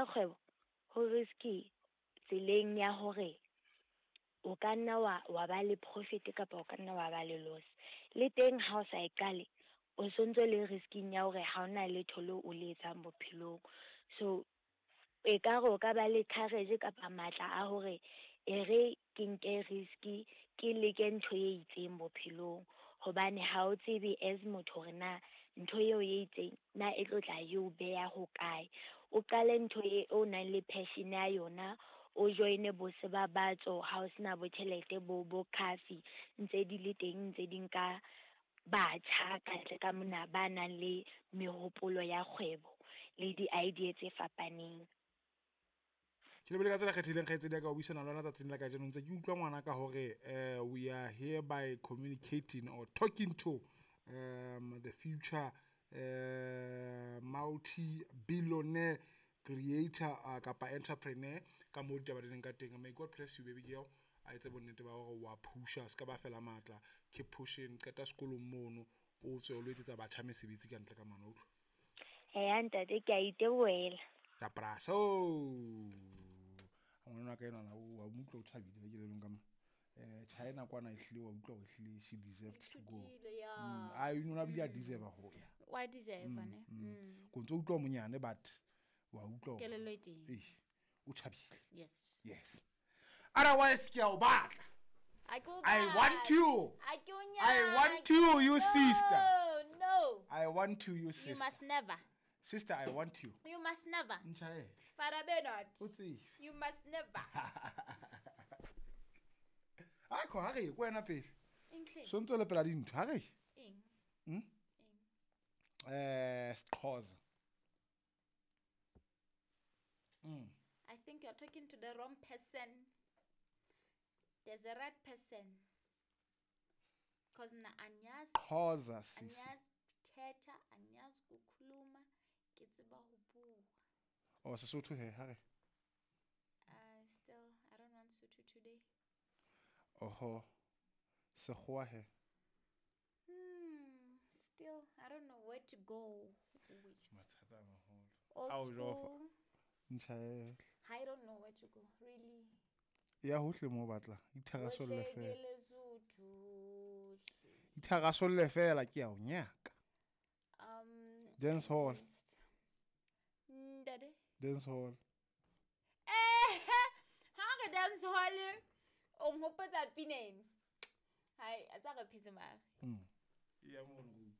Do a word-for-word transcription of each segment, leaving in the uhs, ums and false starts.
qala kgwebo ho risky tseleng ya hore o ka nna wa wa ba le profit kapa o ka nna wa ba le loss. Le teng ha o sa e qale, o sontso le risking ya hore ha hona letho leo o le etsang bophelong. So ekare o ka ba le courage kapa matla a hore e re ke nke risk, ke leke ntho e itseng bophelong, hobane ha o tsebe as motho hore na ntho eo e itseng na e tlo tla e o beha hokae. O qale ntho e o nang le passion ya yona, o join-e bo sebabatso ha o sena bo tjhelete bo bo coffee ntse di le teng, ntse di nka batjha ka ntle ka mona ba nang le mehopolo ya kgwebo le di-idea tse fapaneng. Ke lebile ka tsela kgethileng kgaitsedi ya ka ho buisana le wena tsatsing la kajeno. Ntse ke utlwa ngwana ka hore eh we are hereby communicating or talking to um the future uh, multi-billionaire creator uh, kapa entrepreneur ka moo ditaba di leng ka teng. May God bless you, baby girl. A etse bonnete ba hore wa pusha, se ka ba fela matla, keep pushing, qeta sekolong mono, o tswe o lo etsetsa batjha mesebetsi ka ntle ka mane, utlwa. Eya ntate, ke a itebohela. Tapraso. Ngwana wa ka enwana o wa mo utlwa o thabile le kelellong ka mona. Eh China kwana e hlile wa utlwa hore ehlile she deserved to go. Ithutile, ya. Mm, ai nona bile a deserve ho ya. Wa deserve ne. Mm. Ko ntso utlwa monyane but wa utlwa hore- Kelello e teng. Eh, o thabile. Yes. Yes. Otherwise ke a o batla. I go I want you. I go I want you, you sister. No, no. I want you, you You sister. must never. Sister, I want you. You must never. Ntjhaele. Father Bernard. O tsebe. You must never. Akho ha re ko wena pele. Eng So ntse le pela dintho ha re. Eng. Mm? Eng. Eh, Sexhosa. I think you're talking to the wrong person. There's a right person. Cause mna anyazi Xhosa sisi. anyazi kuthetha, anyazi kukhuluma, ke tseba ho bua. Oh, Sesotho he ha re. Uh, still, I don't want Sotho today. Oho. Sekgowa he. Hmm, still, I don't know where to go. Which Mathata a maholo. old Ao, Jofa. school? Ntjhaele. I don't know where to go, really. Ya hohle mo o batlang. Ithakasolle Hohle ke fela. Lesotho, hohle. Ithakasolle fela ke a o nyaka. Um, Dance hall. just- Ntate. Dance hall. Eh, ha re dance hall, o nhopotsa pineng. Hai, a tsa re phetse mare. Mm. Ya mo re.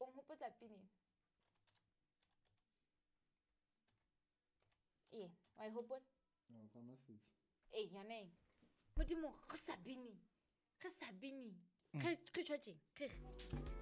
O nhopotsa pineng. Ee, wa e hopola? No, tsamaya sisi. Ee, yona eng? Modimo, re sa bine. Re sa bine. Re re tjho tjeng, re re.